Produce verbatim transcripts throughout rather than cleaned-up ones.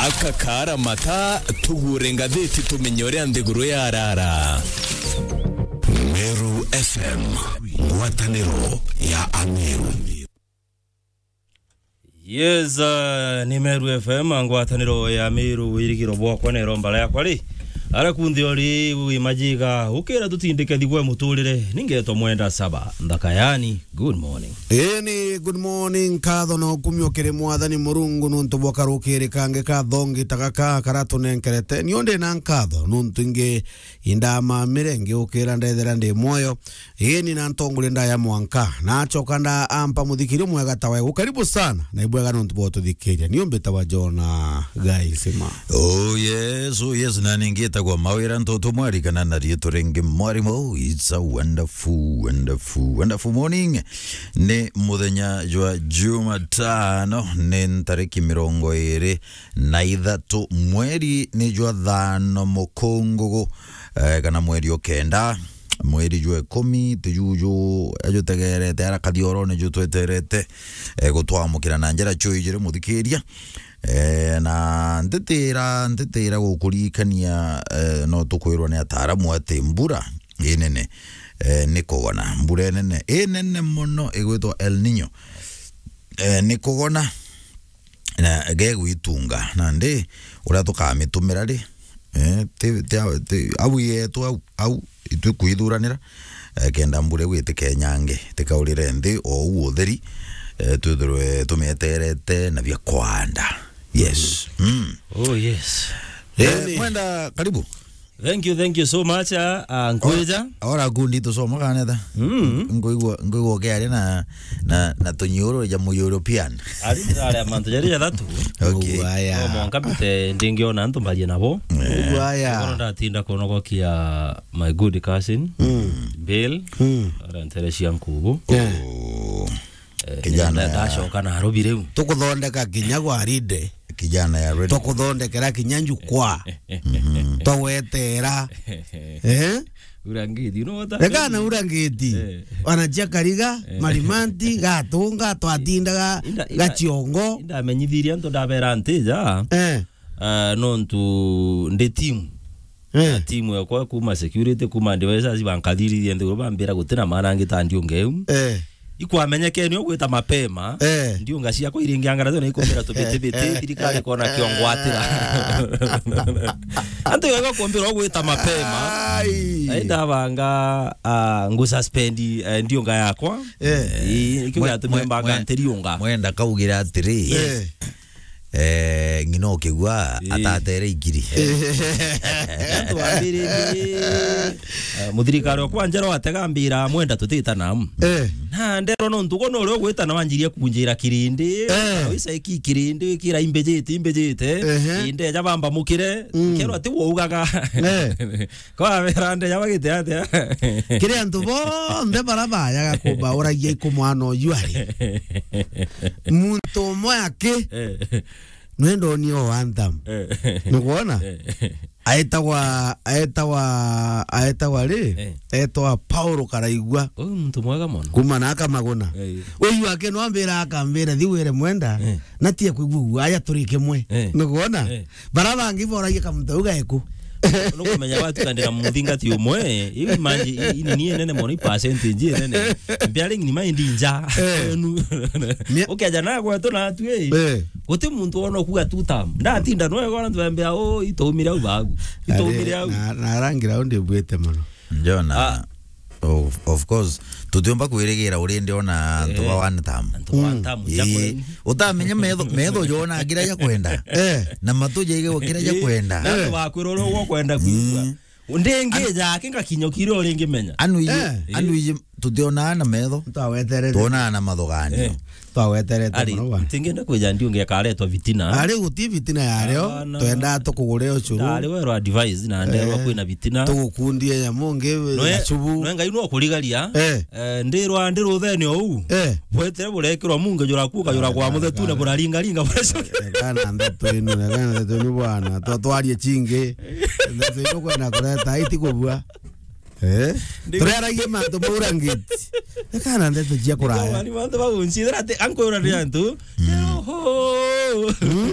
Aka kaara mata, tugure ngathiti tumenye uria nthiguru yarara. Meru F M, ngwataniro ya Ameru. Yes, uh, ni Meru F M, ngwataniro ya Meru, wirigiro bwakwa na iromba riakwa ri. Ara kunthe uri wi majiga, ukira tutindike thigwe muturire, ningetwa Mwenda Saba, nthaka yani. Good morning. Ii ni good morning, nkatho na ukumio kiri Mwathani Murungu nuntu bwa karukiri kangi ka thongi ta gaka kara tunenkerete. Nio ndi na nkatho nuntu ingi indamamire ngiukira ndethera ndi mwoyo. Ii ni na ntongore ndaya mwanka. Nachoka nda ampa muthikiri mwega ta wewe. Karibu sana na ibwega nuntu bwa ututhikiria. Nio mbitagwa Jona Gaisima. Oh yes, oh yes, na ningi itagwa Mawira Ntutu Mwari kana na riitwa ringi Mwarimu. It's a wonderful, wonderful, wonderful morning. Ni muthenya jwa Jumatano, ni ntariki mirongo iri na ithatu, mweri ni jwa thano mukungugu, eh, kana mweri o kenda, mweri jwa ikumi, tujuju ajutegerete ara kathiorone ju tweterete, eh, gutwamukira na njira chui jiri muthikiria. Eh, na ntitira, ntitira gukuririkania, eh, no tukwirwa ni ataaramu ati mbura inene, eh, ni kugona. Mbura inene, inene mono igwitwa El Nino, eh, ni kugona na gegwitunga. Nandi uria tukamitumira ri, eh, ti, ti, ti, au yetu au, au itwi kwithuranira, eh, kenda mbura iu itikenyange, itikaurire nthi o uu utheri, eh, twithirwe tumieterete na bia kwanda. Yes. Mm. Oh, yes. Eh, Mwenda, karibu. Thank you, thank you so much, ah, ah, nkwija. Ora kundi tusoma kanetha. Mm. Ngoigwa, ngoigwa ke ari na, na, na tunyoro ja mu European. Ari ndare mantu jari jathatu. Okay. Ugu aya. No mwanka mbite ndingiona antu mbarie nabo. Eh. Ugu aya. Kono ndatinda kunogokia my good cousin, Mm. Bill, Mm. ara ntere cia nkubu. Yeah. Oh. Eh, Kijana na ya ndacoka Nairobi riu. Tukuthondeka kinya gwa ride. Kijana ya ready. Tukuthondekera kinya njukwa. Mhm. Tugwetera. Eh? Urangiti, you know what I mean? Reka na urangiti. Eh. Wana cia Kariga, Eh. Marimanti, Gatunga, twatindaga Inda-, inda-, Gaciongo. Indamenyithirie antu ndabera ntija. Eh. Ah, nontu ndi timu. Eh. Na timu yakwa kuma security, kuma devices, bankathirithia nthiguru, bambira gutina maana angi ta Ndiunga iu. Eh. Ikwamenyekene ugwita mapema. Eh. Ndiunga ciakwa iringiangara tena ikumbira tubiti biti, thirikari kona kiongwatira. Antu yego kumbira ugwita mapema. Ai. Ai ndabanga, ah, ngu suspend, eh, Ndiunga yakwa. Eh. Ii, ikio Mwe-, giatumire mwe-, mbanga mwe-, nti Ndiunga. Mwenda kaugira atiri. Eh. Eh, ng'ina ukigua Ii. atatere ikiri. Eh. Twambiririe, eh, muthirikari okwa njera watega mbira Mwenda tutitana. Eh. Na nderwa nontu gwe nuri ugwitana wanjirie kunjira kirindi, Eh. kana wicaiki kirindi, wikira imbijite, imbijite, Ehe. indeja bamba mukire, Mm. nkerwa ti waugaga. Eh. Kwa wera nde yabagite atia? Kiri antu bonthe bara bayaga kumbauragia iku mwana uyu ari. Muntu umwe aki, Eh. nwenda unie o anthem. Eh. Nukwona? Eh. Aetagwa, aetagwa, aetagwa ri? Eh. Etwa Paulo Karaigua. Uyu muntu mwega mono. Kuma na Akamaguna. Eh. Uyu aki nwambira akambira, "Thiu wire Mwenda, Eh. natie kwigua guaya turi kimwe." Eh. Nukwona? Eh. Bara bangi boragia kamuntu au gaeku. Nukumenya watukandira muthingati umwe, iu manji, i-, inini enene mono, i percentage enene. Bearing ni mind nja. Eh. Kwenu. Mia- Ukeja na gwetu na atwi, Eh. guti muntu wona kuga two term. Ndatinda no egona twembea, "Oh, itaumire au bagu. Itaumire au." Na, na rangira undi bwete mono. Jona. Ah. Of, of course, tutiumba kwirigira urindi ona antu Eh. ba one term. Antu ba one term, Ii. Utamenya metho, metho jona kira ja kwenda. Eh. Na matu jaigagwa kira ja Ii. kwenda. Na antu bakwira uria ukwenda kwigua. Mm. Ndingi jake ngakinya kiri uringi menya. Anu iji, Eh. anu iji tutionaa na metho. Twaweterete. Tuonaa na mathuganio. Eh. Twaweterete Ari, muno bwana. Tingenda kwija Ndiunga ikaretwa vitina. Ari guti vitina yario, Hapana. Twendaa tukugure ucuru. Ndari werwa advice na nderwa Eh. kwina vitina. Tugukundie nyamu ngi Noe, gacubu. Noe Ngai no kurigaria. Eh. Eh, ndirwa ndi ruthene ou. Eh. Bwetere burekirwa munge jura kuka jura kwa muthetune buraringaringa buracoke. Kana ndeto inu, kana ndeto inu bwana. Twa-, twarie chingi. Ndeto inu kwenda kureta, iti kubua. Eh? Ndi- Tureragia mantu maurangiti. Kana ndeto cia kuraya. Ni mantu magunchithira ati ankwira ni antu. Mm. Oho. Mm.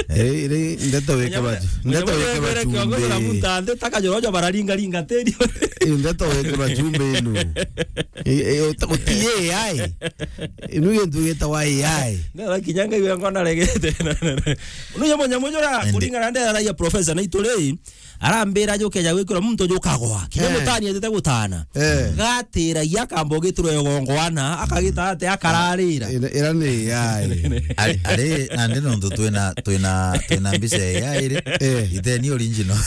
Eh, iri ndeto wikirwa, ndeto wikirwa chumbi. Kiongozi na mtu ande taka jorojo bararinga ringa teri. Eh, ndeto wikirwa chumbi inu. Eh, eh, uta-, uti A I. Inu gintu gitagwa A I. Ndio kinyanga iwe ngona regete. Nuye munyamu jura kuringana ndera ya professor na ituri. Arambira jukeja gwikirwa muntu jukagwa. Kinya mutani etete gutana. Eh. Gatiragia akamba ugitirwa igongwana, akagita ate akararira. Ira, ira ni A I. Ari, ari, nandi nontu twina, twina, twina mbica ya A I ri. Eh. Ite ni original.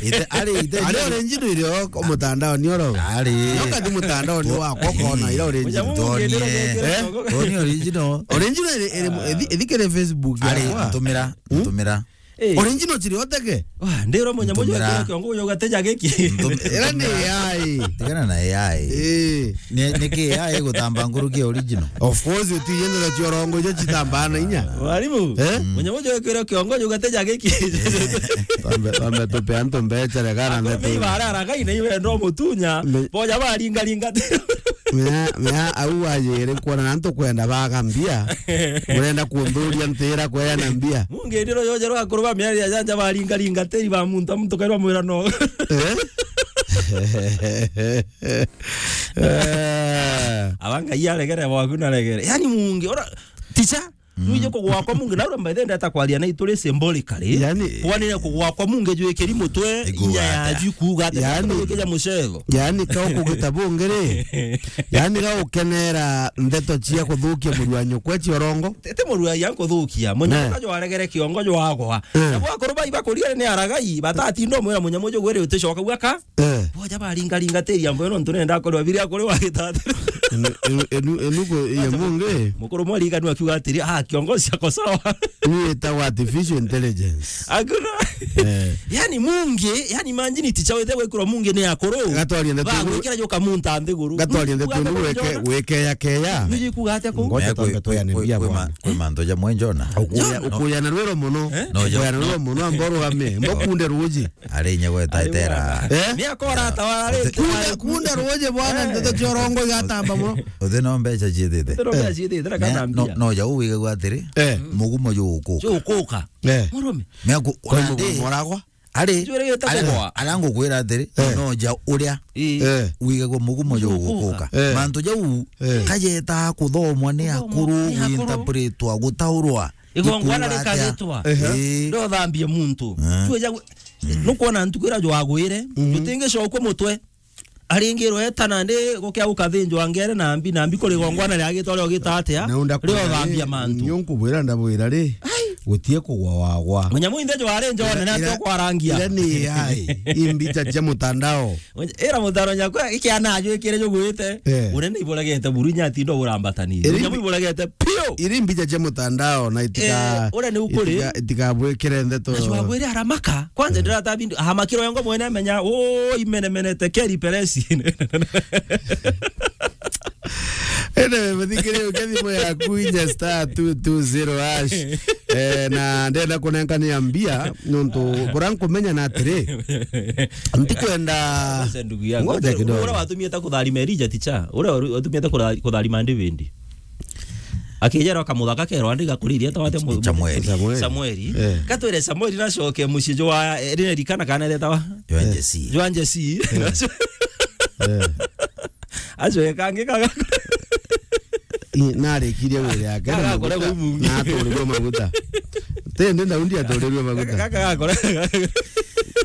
Ite, ari, ite ni original iri o mutandao ni oro. Ari. Yoka ni mutandao ni wakwa kona ira original. Tuonie. Eh? Tuonie original. Original iri, iri, ithi-, ithikire Facebook yakwa. Ari, ntumira, ntumira. Eh. Original chiri oteke. Wa, ndiro munyamu jwa kiongo yo gateja giki. Ira ni A I. Tigana na A I. Eh. Ni, ni ki A I gutamba nkuruki ya original? Of course, uti yende na chiorongo ijo chitamba na inya. Mwalimu, eh? Munyamu jwa kiongo yo gateja giki. Twambe, twambe tupe antu mbecha regana na tu. Ni bara ragai na iwe ndo mutunya. Boja baringa ringa. Mea, mea, au wajire kuona na ntukwenda baga mbia. Urenda kunthuria ntira kweana mbia. Mungi ndiro yoje rwa kuruba miari ya janja baringa ringa tiri ba muntu, muntu kairwa mwira no. Eh? Eh. Abanga iya regere bwaku na regere. Yani mungi, ora, ticha, Nuije kugwa kwa mungi, na ura by the way ndata kwaria na ituri symbolically. Yani, kwanire kugwa kwa mungi jwikiri mutwe, inya ya juku gata, yani, kija mucego. Yani, ka ukugita bungi ri? Yani, ka ukenera ndeto cia kuthukia murua nyukwe cia urongo? Tete murua ya kuthukia. Munyamu kajo aregere kiongo jwagwa. Eh. Na bwa kuruba iba kuria ni aragai, batatinda mwira munyamu jugwere uticoka gwaka. Eh. Boja baringa ringa tiri ambo no ntunenda korwa biria kuri wa gitati. Enu, enu, enu, enu ko, iye mungi. Mukuru mwariganwa akiuga atiri, "Ah, kiongozi ako sawa." Ni etagwa artificial intelligence. Hakuna. Eh. Yani mungi, yani imagine ticha wete gwikirwa mungi ni akuru. Gatwaria ndeto. Ba gwikira joka munta nthiguru. Gatwaria ndeto inu weke, weke ya keya. Nuji kuga atia ku? Ngoja twambe tuyane mbia bwana. Kwi mantu ja mwenjona. Ukuya, ukuya na rwiro muno. Eh? No, ukuya na rwiro muno, ambo rugame, mbo kunde ruji. Ari inya gweta itera. Eh? Ni akora atawara ri. Kunde, kunde ruji bwana, eh, ndeto cia urongo igatamba muno. Uthi no mbeca ciithite. Uthi no mbeca ciithite, na kana mbia. No, no, ja uwigagwa atiri, eh, mugumo jugukuka. Jugukuka. Eh. Murume. Mea ku-, kwa mugumo moragwa. Ari, ari ngukwira atiri, eh, no ja uria, eh, wigagwa mugumo jugukuka. Eh. Mantu jau, eh, kajeta kuthomwa ni akuru, ni akuru, guinterpretwa, gutaurwa. Igongwana rikagitwa. Ehe. Ndo thambie muntu. Eh. Tueja gu-, nukwona ntuku iria jwagwire, mhm, jutingicokwa mutwe. Aringirwe eta nandi gukia gukathinjwa ngere na mbi, na mbi kuri igongwana riagitwa rio gita atia? Rio thambia mantu. Nyo nkubwira ndabwira ri, ai, gutie kugwa wagwa. Munyamu inthe jwari njone na ira, tokwarangia. Ira ni A I, imbicha cia mutandao. Ira mutaro nyakwa ikiana ajwikire jugwite. Eh. Uria ni iburegete buru inya atindo urambatani. Iri, nyamu iburegete piu. Iri mbicha cia mutandao na itika, eh, uria ni ukuri, itika, itikabwikire ndeto. Na cwagwire aramaka. Kwanza, eh, ndirata bindu ahamakirwa ngo mwene amenya, "Oh, imene mene tekeri peresi." Ene muthikire uke thimu yaku inya star two two zero hash. Eh, na ndenda kunenkania mbia. Nontu bura nkumenya na atiri, ntikwenda. Sasa ndugu yangu, ngoja kidogo. Ura watumie ta kutharima Elija ticha. Ura watumie ta kutha-, kutharima David. Akijera akamuthaka kerwa andi gakuriria ta wate mu-, Samueli. Samueli. Samueli. Eh. Katwire Samueli nacoke mucii jwa, eh, rine rikana kana retawa? Jwa Jesi. Jwa Jesi. Eh. Eh. Acio ekangi kaga. I, narikirie wira yake na maguta, na aturirwe maguta. Tende Daudi aturirwe maguta. Kaka gakora.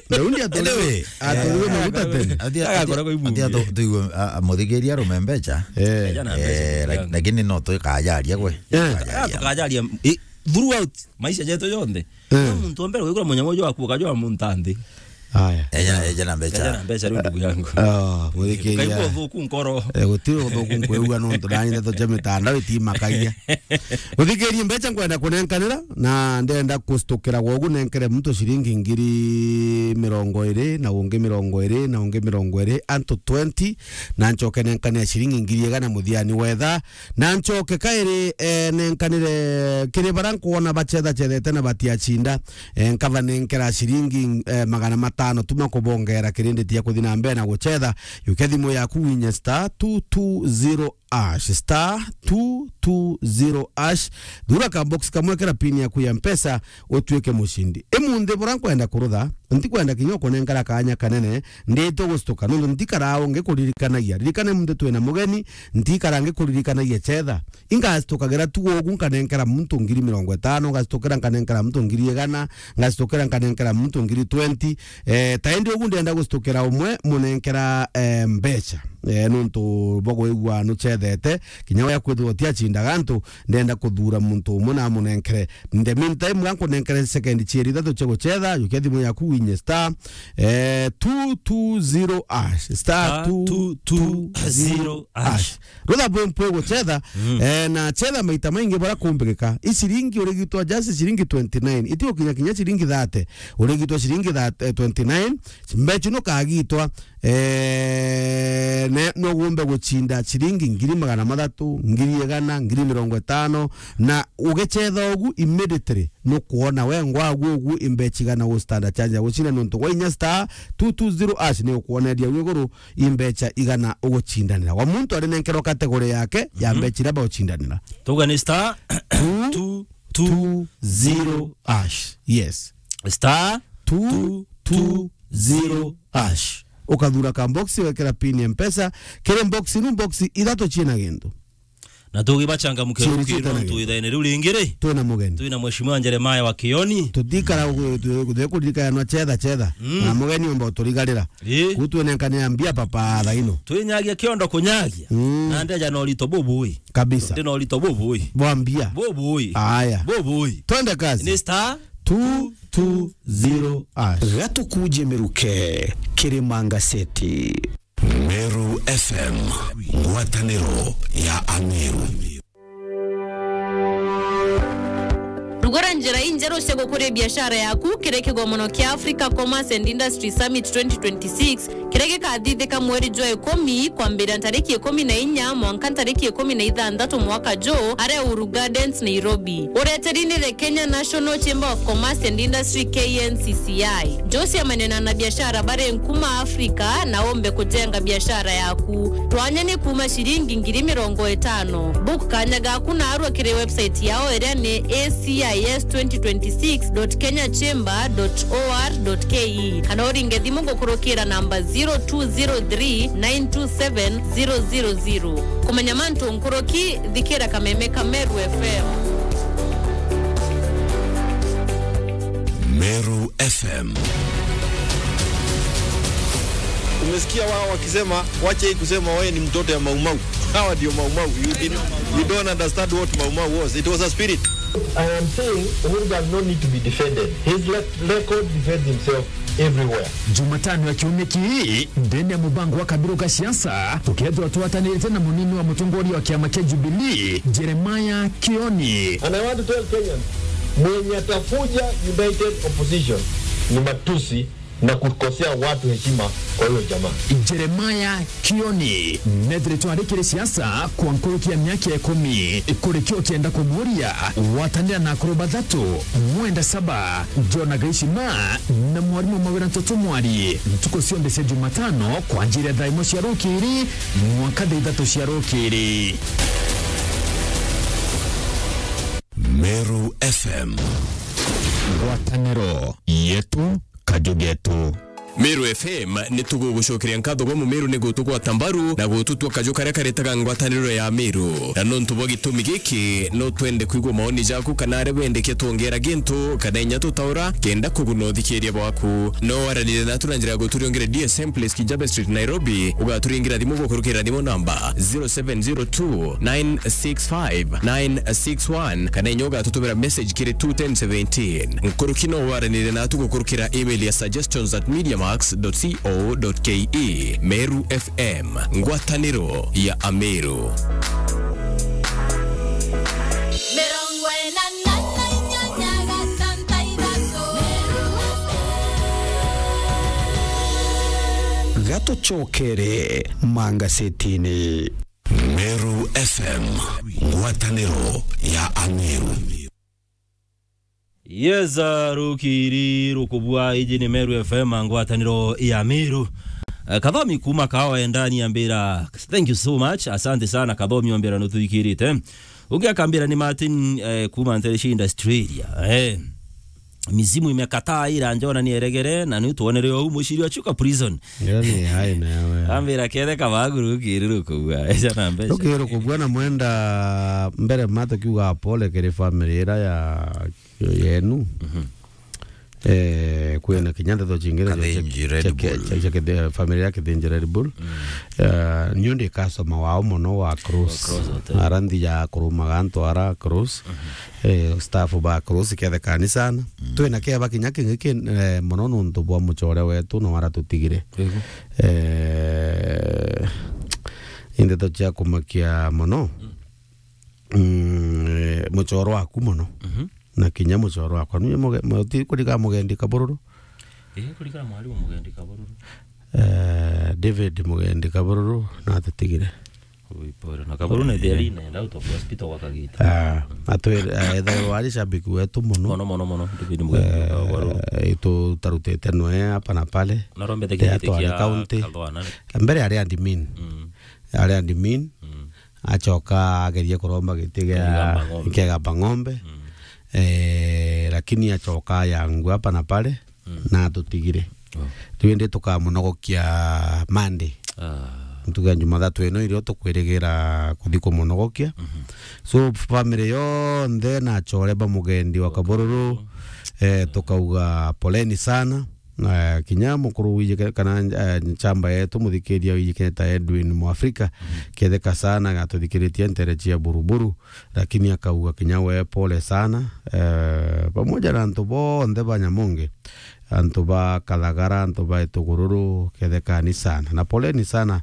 Daudi aturirwe, anyway, aturirwe maguta tene. Atia, atia, atia tu-, tuigue, a, a, muthikiria arume mbeca. Eh. Eja na mbeca, eh, lak-, lakini no tukajaria gwe. Eh. Tukajaria. Ah, tukajaria, i, throughout maisha jetu jonthe. Eh. No muntu wa mbere gwikura munyamu uju akuuka jwa muntu nthi. Aya. Eja, eja na mbeca. Eja na mbeca, riu ndugu yangu. Ah, muthikiria. Kaigua uthuku nkoro. Eh, gutiri uthuku nkwigua nontu nani ndeto cia mitandao itimakagia. Muthikiria, mbeca nkwenda kunenkanira, na ndenda kustukira gwogu nenkere muntu ciringi ngiri mirongo iri, na ungi mirongo iri, na ungi mirongo iri, antu twenty, na ncoke nenkanire ciringi ngiri igana muthiani wetha, na ncoke kairi, eh, nenkanire kiri bara nkwona bacethacethete na batiacinda. Eh, nkaba nenkera ciringi, eh, magana matano tuma kubongera kirindi tia kuthi na mbere na gucetha. Yukia thimu yaku winye star two two zero hash, star two two zero hash. Thura ka box kamwe, kera pin yaku ya Mpesa, utuike mucindi. Imunthi bura nkwenda kurutha, ntikwenda kinya ukunenkera kaanya kanene, ndite gucituka, nontu ntikaraa ngikuririkanagia. Ririkana imunthi twina mugeni, ntikara ngikuririkanagia chetha. Ingacitukagira tu ugu, nkanenkera muntu ngiri mirongo itano, ngacitukira nkanenkera muntu ngiri igana, ngacitukira nkanenkera muntu ngiri twenty. Eh, ta indi ugu ndenda gucitukira umwe, munenkera, eh, mbeca. Eh, nontu bwa kwigua nucethete, kinya we akwithirwa ti acindaga antu, ndenda kuthura muntu umwe na amunenkere. In the meantime, ga nkunenkere second cieri ithatu cia gucetha, jukia thimu yaku winye star, eh, two two zero hash, star two two zero hash. Rutha bwe mpwe gucetha, eh, na cetha maita maingi bara kumbigika. I ciringi urigitwa just ciringi twenty nine. Iti ukinya kinya ciringi thirty. Urigitwa ciringi thirty, eh, twenty nine. Mbeca ino kagitwa, eh, ne, no gumbe gucinda ciringi ngiri magana mathatu, ngiri igana, ngiri mirongo itano, na ugicetha ugu immediately, nukwona we ngwagu ugu imbeca igana gu standard charge ya gucinda nontu gwa inya star two two zero hash ni ukwoneria wi iguru imbeca igana ugucindanira. Wa muntu ari nenkerwa category yake ya mbeca iria baucindanira. Tuga ni star two two zero hash. Yes. Star two two zero hash. Ukathura ka box, wekera pin ya Mpesa. Kiri box nu box ithatu ciina gintu. Na tugibachangamukira rukiri nontu ithaene riu ringi ri, twina mugeni. Twina Mheshimiwa Jeremiah wa Kioni. Tutikara gu-, gu-, gu-, kuririkana chetha chetha. Mm. Na mugeni omba uturigarira. Ii. Ku twinenkane ya mbia papa thaino. Twinyagia kiondo kunyagia. Mm. Na ndeja na urito bubui. Kabisa. Ndi na urito bubui. Bwa mbia. Bubui. Aya. Bubui. Twende kazi. Ni star two two zero hash. Gatukuje miruke, Kirima Ngaseti. Meru F M, ngwataniro ya Ameru. Rugura njira injeru cia gukuria biashara yaku kiri kigomono kia Africa Commerce and Industry Summit twenty twenty-six, kiria gikathithika mweri jwa ikumi, kwambiria ntariki ikumi na inya mwanka ntariki ikumi na ithanthatu mwaka juu, aria Uhuru Gardens, Nairobi. Ureteri ni the Kenya National Chamber of Commerce and Industry, K N C C I. Josia manena na biashara bari nkuma Afrika na ombe kujenga biashara yaku. Twanya ni kuma ciringi ngiri mirongo itano. Book kanya gaku narua kiri website yao iria ni A C I S twenty twenty-six dot kenya chamber dot O R dot K E, kana uringe thimu gukurukira namba zero two zero three nine two seven zero zero zero. Kumenya mantu nkuruki, thikira kameme ka Meru F M. Meru F M. Umesikia wao wakisema, "Wacha hii kusema wewe ni mtoto ya Maumau." Hawa ndio Maumau. You didn't, you don't understand what Maumau was. It was a spirit. I am saying Uhuru does not need to be defended. His le-, record defends himself everywhere. Jumatano ya kiumia kii, ndene ya mubango wa Kabiru ka siasa, tukethirwa twatanirite na munini wa mutongoria wa kiama kia Jubilee, Jeremiah Kioni. And I want to tell Kenyans, mwenye atakuja united opposition ni matusi na kukosea watu heshima kwa huyo jamaa. Jeremiah Kioni, nethiritwe ari kiri siasa kwa nkuruki ya miaka ikumi. Kuri kio ukienda kumuria, gwatanira na akuru bathatu, Mwenda Saba, John Gaishima na mwarimu Mawira Ntoto Mwari, ntuku cionthe cia Jumatano kwanjiria thaa imwe cia rukiri mwanka thaa ithatu cia rukiri. Meru F M. Ngwataniro yetu, kaju getu. Meru F M ni tugugucokeria nkatho gwa Mumeru ni gutugwata mbaru na gututua kaju karia karetaga ngwataniro ya Meru. Na nontu bwa gitumi giki, no twende kwigua maoni jaku kana aria wendekia twongera gintu kana inya tutaura kenda kuguna uthikiria bwaku. No waranire natu na njira ya guturiongera D S M Place, Kijabe Street, Nairobi. Ugaturingira thimu gukurukira thimu namba zero seven zero two nine six five nine six one, kana inya ugatutumira message kiri two ten seventeen. Nkuruki no waranire natu gukurukira email ya suggestions at mediamax dot co dot ke. Meru F M, ngwataniro ya Ameru. Mirongo ina na inyanya gatanta ithatu. Gatucokere mangasetini. Meru F M, ngwataniro ya Ameru. Yes, uh, rukiri rukubua, iji ni Meru F M, ngwataniro ya Meru. Eh, Kathomi kuma Kaoe ndani ambira, "Thank you so much. Asante sana Kathomi," ambira nutwikirite. Ungi akambira ni Martin, eh, kuma Ntereshi Industrial Area. Eh. Mizimu imekataa ira njona ni eregere, na ni tuonere ou muciri wa Chuka Prison. Ngera ni hai na yawe. Ambira kethe kabaguru kiruru kugua. Eja na mbeca. Rukiro kubua na mwenda mbere mato kiuga pole kiri family ira ya yenu. Mhm. Eh, kwina kinya ndeto cingire cia, Kathinji cia, Red cia, Bull. Cia, cia, cia, family ya Kithinji Red Bull. Mm. Eh, niu ndi customer wao mono wa Cross. Wa Cross Hotel. Ara nthi ya kurumaga antu ara Cross. Mhm. Eh, staff ba Cross kethe kanisa. Mm. Twina keba kinya kingi ki, eh, mono nuntu bwa mucore wetu no aratutigire. Ego. Eh, indeto cia kumakia mono. Mm. Mm, eh, mucoro waku mono. Mhm. Na kinya mucoro wakwa. Nunye muge-, muti kuriga mugendi Kabururu? Ii, kuriga mwarimu mugendi Kabururu. Eh, David mugendi Kabururu, na atutigire. Ui, pole. Na Kabururu ni theri na enda out of hospital gwa kagita. Ah, atwire, eh, ethairwa ari shabiki wetu mono. Mono, mono, mono. David mugendi Kabururu. Eh, itu tarutite noe hapa na pale. Narombete kiti kia Kathwana. Mbere ari admin. Mm. Ari admin. Mm. Acoka agerie kuromba giti gia Kegamba ng'ombe. Kegamba ng'ombe. Mm. Eh, lakini acoka ayangua hapa na pale, mm, na atutigire. Oh. Riu indi tukamunogokia Monday. Ah. Ntuku ya Jumathatu ino irio tukwirigira kuthi kumunogokia. Mhm. So, family yonthe na acore ba mugendi wa Kabururu, eh, tukauga poleni sana. Eh, kinya mukuru wiji ke-, kana, eh, nchamba yetu muthikiria wiji kene ta Edwin Mwafrika, mhm, ketheka sana gatuthikiritie ntere cia Buruburu, lakini akauga kinya we pole sana, eh, pamoja na antu bonthe ba Nyamonge, antu ba Kathagara, antu ba Itugururu, kethekani sana. Na poleni sana,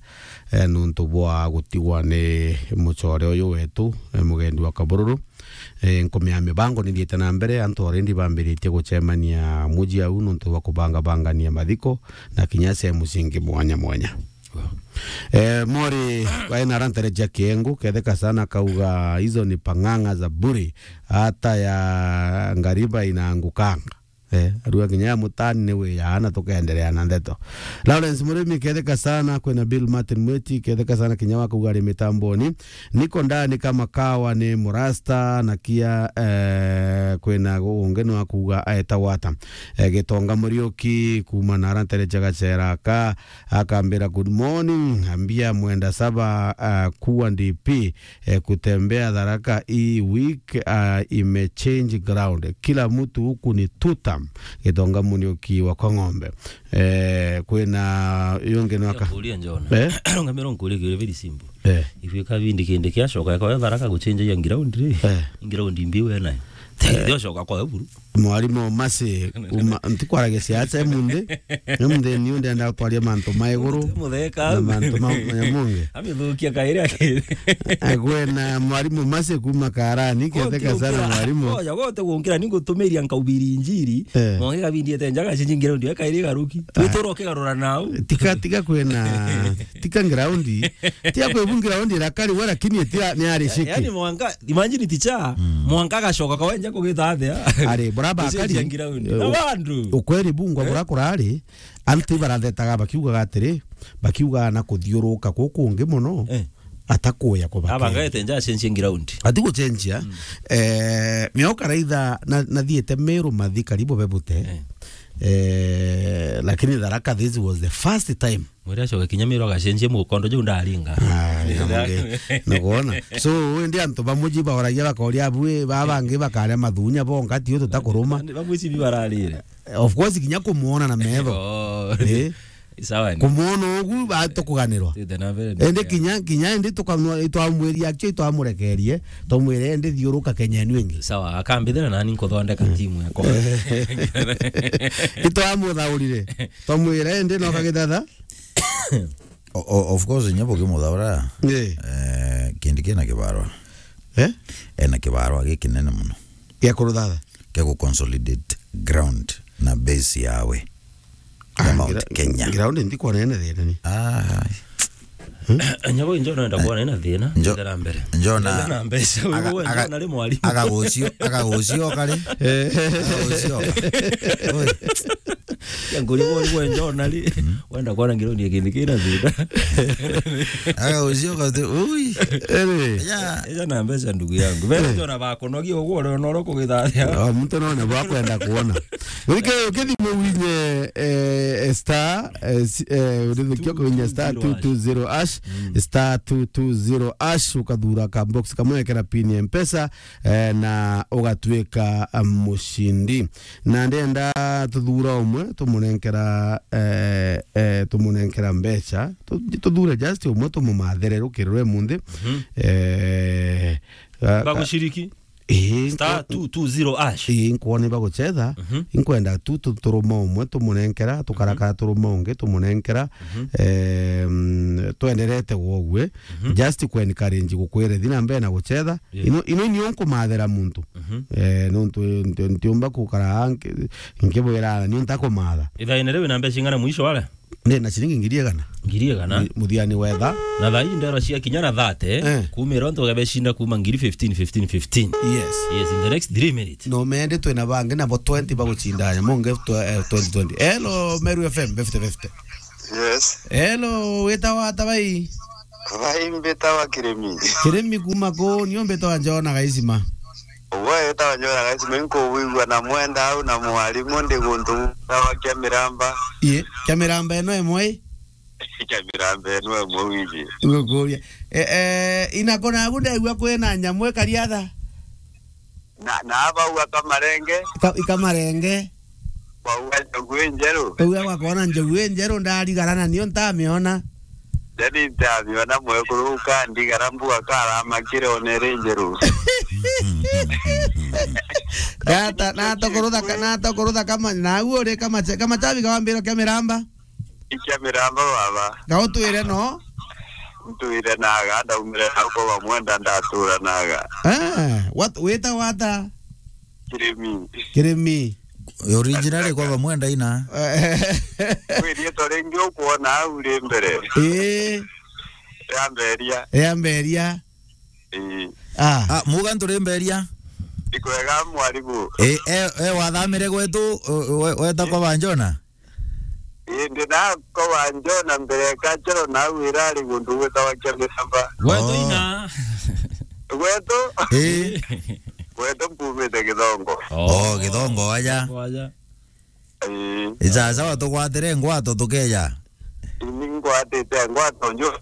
eh, nuntu bwa gutigwa ni mucore uyu wetu, eh, mugendi wa Kabururu. Eh, nkumea mibango nithiite na mbere, antu already bambiritie gucemania muji au nuntu bwa kubangabangania mathiko na kinya sehemu cingi mwanya mwanya. Wow. Eh, Mori, waina arantereja kiengu, ketheka sana kauga, "Hizo ni pang'ang'a za bure, hata ya ngariba inaangukanga." Eh, arua kinya ya mutani ni wiyaana, tukenderea na ndeto. Lawrence Murimi, ketheka sana, kwina Bill Martin Mweti, ketheka sana, kinya wa kuuga ari mitamboni. Niko ndani kama kawa ni murasta, na kia, eh, kwina ungi ni wa kuuga aeta wata. Eh, Gitonga Muriuki, kuma na arantereja gacera ka, akambira, "Good morning, ambia mwenda saba, ah, kuwa D P." Eh, kutembea Tharaka hii week, ah, imechange ground. Kila mtu huku ni tutam. Gitonga Muriuki wa kwa ng'ombe. Eh, kwina yungi ni waka-, kuria Njona. Eh? Ngamira nkurie kiuria very simple. Eh. If you kabindi kindi kiacoka kwa Tharaka guchange ya ground ri? Eh. Ground mbi we nayo. Eh. Ndio coka kwa buru. Mwarimu Masi, kuma, ntikwaragia siasa emunthi. Emunthi niu ndenda gutwaria mantu ma iguru. Mutheka na au. Mantu ma, ma Nyamonge. Amithukia kairi aki. Agwe na mwarimu Masi kuma Karani, ketheka sana mwarimu. Oya, wote gunkira ningutumiria nkaubiri injiri. Eh. Mwangi kabindi ete njaga cinjingira ndio kairi garuki. Ah. Twitoro kigarura nau. Tika, tika kwena, tika ground. Tia kwe bu ground irakari we, lakini tia ni ari shiki. Yaani mwanka Imagine ticha, mm, mwanka agacoka kwa wenja kugita athia. Ari, buraba akari. Gucenjia ground. Eh, na u-, bandu. Ukweri bungwa, eh, bura kurari, antu barathetaga bakiugaga atiri, bakiugaga na kuthiuruka kuku kungi muno, eh, atakuya kubakeria. Aba ngaete nja acenjie ground. Ati gucenjia, mm, eh, mioka raitha na, nathiete Meru mathi karibu bebute. Eh. Eh, lakini Tharaka, this was the first time. Mwiri acoke kinya Meru agacenjie mukondo juu ndaringa. Ah, Nyamonge. Nukwona? So, indi antu bamuji baoragia bakoria abui, baba bangi bakaria mathunya bonga, tio tutakuruma. Bamwicibi bararire. Of course, kinya kumwona na metho. Oh. Eh? Sawa ni. Kumwona ugu, ba-, tukuganirwa. Tite na mbere. Indi kinya, kinya indi tukamwa-, itwamwiria akio, itwamurekerie, twamwire, "Indi thiuruka Kenya inu ingi." Sawa, akambithira nani nkuthondeka, mm, timu yakwa. Itwamuthaurire. Twamwira, "Indi no kagithatha." O-, o-, of course, inya bukimuthaura, eh, eh, kindi kina kibarwa. Eh? Ena kibarwa gikinene muno. Gia kuruthatha? Kia gu consolidate ground na base yawe ya, ah, Mount gra-, Kenya. Ground ntikwona ina thina ni. Ah. Hmm? Nyago injo nenda kwona ina thina. Njo-, nenda na mbere. Njo na, nenda na mbeca. Aga-, wewe aga-, njo na ri mwarimu. Agagucio, agagucio kari. Eh. Agagucio. Oi. Ya nguri bo ni gwe njona ri. Wenda kuona ngironi ya kindi kina thina. Aga ucio kati, ui. Ere. Ya. Eja na mbeca ndugu yangu. Bere njona bakonogia uguo ore no ro kugithathia. Ah, muntu no ne bakwenda kuona. Urike ukithimo winye, eh, star, eh, si- eh, urithukia kuinya star two two zero hash, star two two zero hash, ukathura ka box kamwe, ekera pin ya Mpesa, eh, na ugatuika, eh, mucindi. Na ndenda tuthura umwe, tumunenkera, eh, eh, tumunenkera mbeca. Tu- tuthure just umwe, tumumathere rukiri rwe munthi. Mhm. Eh, ga- Baguciriki? Ii, star nkwa- two two zero hash. Ii, nkwona ibagucetha. Mhm. Inkwenda tu tu- turuma umwe tumunenkera, tukarakara turuma ungi tumunenkera. Mhm. Em, twenderete gwogwe. Mhm. Just ku encourage gukwire thina mbere na gucetha. Yeah. Ino, ino nio nkumathera muntu. Mhm. Eh, nontu nti- ntiumba kukara nki- nkibwira ni ntakumatha. Ithaine riu wina mbeca ing'ana mwisho wale? Ndi na ciringi ngiri igana. Ngiri igana? Mu- muthiani wetha. Na thaa ii ndero cia kinya na thirty, eh, kumira ontu ugabecinda kuma ngiri fifteen, fifteen, fifteen. Yes. Yes, in the next three minutes. No mende twina bangi nabo twenty bagucindanya, monge tw- eh, twenty twenty. Hello, Meru F M, fifty fifty. Yes. Hello, witawa ata bai? Bai mbitawa Kirimi. Kirimi kuma ku, nio mbitawa Njona Gaisima. Uwe witawa Njona Gaisima, inkuwigua na mwenda au na mwarimu ndi guntu gwitawa Kiamiramba. Ii, Kiamiramba ino imwe ii? Kiamiramba ino imwe wiji. Ngukuria. Eh, eh, inako nagu ndegua kwina nyamu ikariatha? Na, na abauga kamarenge. Ika-, ikamarenge. Bauga njogu injeru. Bauga gwakona njogu injeru ndarigara na nio ntamiona. Ndani ntamiona mwekuru ukandigara mbuga karamakire one ri njeru. Gata, natokorotha ka-, natokorotha kama, na au uri kama cha-, kama chabi kawambiro kia miramba. Ikia miramba baba. Gautwire no? Ntwire naga, ndaumire nako bamwenda ndatura naga. Eh, wat-, wita wata? Kirimi. Kirimi. Original kwa bamwenda ina. Eh. Kwi rietwa ringi ukwona au ri mbere. Ii. Ria mberia. Ria mberia. Ii. Ah. Ah, muga nturi mberia. Ikwega mwarimu. Eh, eh, eh, wathamire gwetu, we-, we-, weta kwa banjona? Indi nako banjona mbere ya kachero nau irari guntu gwitawa kia miramba. Gwetu Oh. ina. Gwetu? Ii. Gwetu mpumite Githongo. Oh, Githongo aja. Aja. Ii. Isasawa tugwatire ngwato tukeja. Ini ngwatite ngwato nju.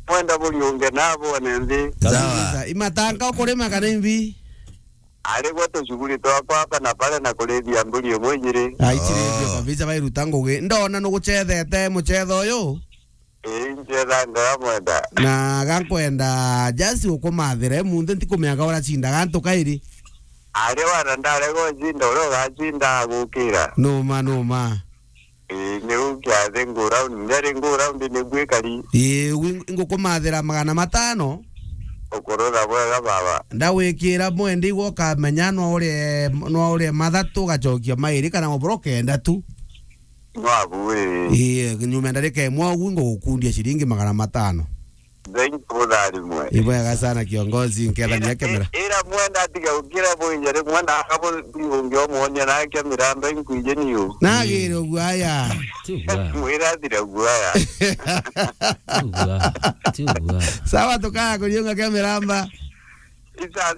Mwenda buriunge nabo ne nthi. Sawa. Kabisa. Imatanga ukurima kana imbi? Ari gwe tucuguri twakwa hapa na pale na kurithia mburi imwe ijiri. Aicirithio Oh. kabisa bairuta ngugi. Ndona nugucethete mucetho uyu. Ii, ncetha ngara mwenda. Na gankwenda just ukumathire munthi ntikumenya ka uracindaga antu kairi. Ari wana ndarega ucinda uria ugacinda agukira. Numa, numa. Ii, niu kiathi nguraundi, nderi nguraundi niguo ikari. Ii, wi-, ngukumathira magana matano. Ukurutha bwega baba. Ndagwikira mwendi igwe ukamenya no urie, no urie mathatu ugacokia mairi kana ubura ukenda tu. No abu ii. Ii, nyuma ndarika imwe ugu ngugukundia ciringi magana matano. Thank you, Mutharimwe. Ibwega sana kiongozi, nkethania Ira, kemera. I-, ira mwenda atiga gukira bwinja ri mwenda akabo biungi omwonia na kemera mbe nkwije niu. Nagire uguo aya. Ti uguo. Mwira athire uguo aya. Ti uguo. Ti uguo. Sawa, tukaya kuriunga kemera mba. Isa,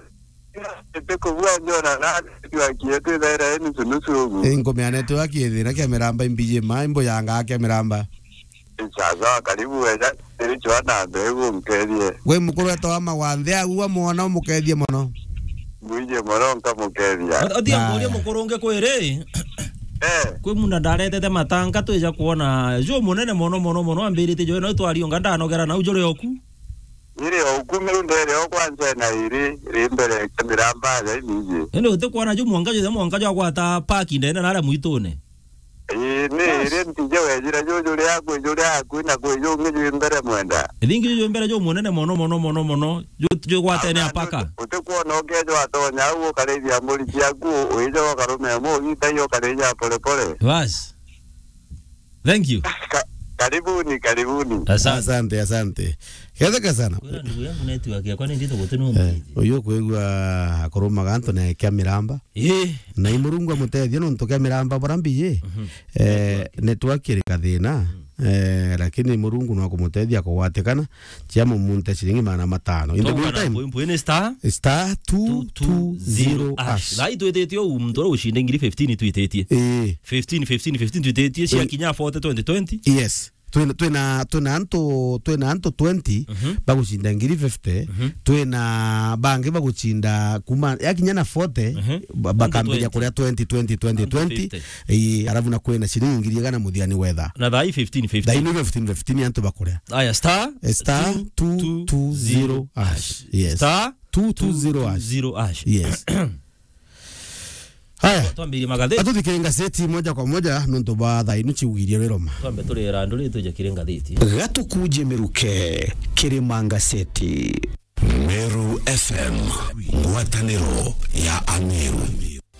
ite kubua njona na twakie twithaira ni nusu nusu ugu. Inkumea network ithira kemera mba imbiji ma imbo yanga kemera mba. Sasa, karibu wega, iri chwana mbegu nkethie. Gwi mukuru wetwa wa Magwanthe, agua mwana umukethie mono. Mwije mono nkamukethia. Othia Ah. Nguria mukuru ungi kwiri. Eh. Kwi munda ndaretete matanga twija kuona ju munene mono, mono, mono, ambirite jo, no twariunga ndanogera nau juri oku. Iri oku miunda iri o kwanza na iri, ri mbere ya miramba ya imiji. Indi uti kuona ju mwanka ju, mwanka ju agwata park ndene na aria mwitune. Ii, ni iri ntije wejira juju riaku, ju riaku, na kwi jungi jwi mbere mwenda. Ithingi juju mbere ju munene mono, mono, mono, mono. Ju, ju gwatene apaka. Uti-, utikwona ukeja watonya au ukarithia mburi ciaku, uija ukarume mo, ugita iyo ukarithia pole pole. Bas. Thank you. Ka-, Karibuni, karibuni. Asante. Asante, asante. Ketheka sana. Kwira ndugu yangu network yakwa ni ndito guti no. Eh, uyu kwigua akorumaga antu na kia miramba. Eh. Na i Murungu amutethie nontu kia miramba bora mbiye. Mhm. Eh, network iri kathina. Mhm. Eh, lakini Murungu no akumutethia kugwatikana. Cia mumunte ciringi magana matano. In the meantime, mpwi ni star star two two zero hash. Thai twititie u muntu uria ucinde ngiri fifteen twititie. Eh. Fifteen, fifteen, fifteen twititie, cia kinya forty, twenty, twenty. Yes. Twina, twina, twina antu, twina antu twenty, mhm, bagucinda ngiri fifty, mhm, twina bangi bagucinda kuma, yakinya na forty, mhm, ba-, bakambiria kuria twenty, twenty, twenty, twenty. Ii, arabu na kwina ciringi ngiri igana muthiani wetha. Na thai fifteen fifteen. Thai ni fifteen fifteen antu bakuria. Aya, star, eh, star two two zero hash. Yes. Star two two zero hash. Yes. Haya. Twambirie magatheti. Atuthikire ngazeti moja kwa moja nontu bwa thaa inu ciugirie riroma. Twambe turira nduri tuje kiri ngatheti. Gatukuje miruke kiri mangazeti. Meru F M, ngwataniro ya Ameru.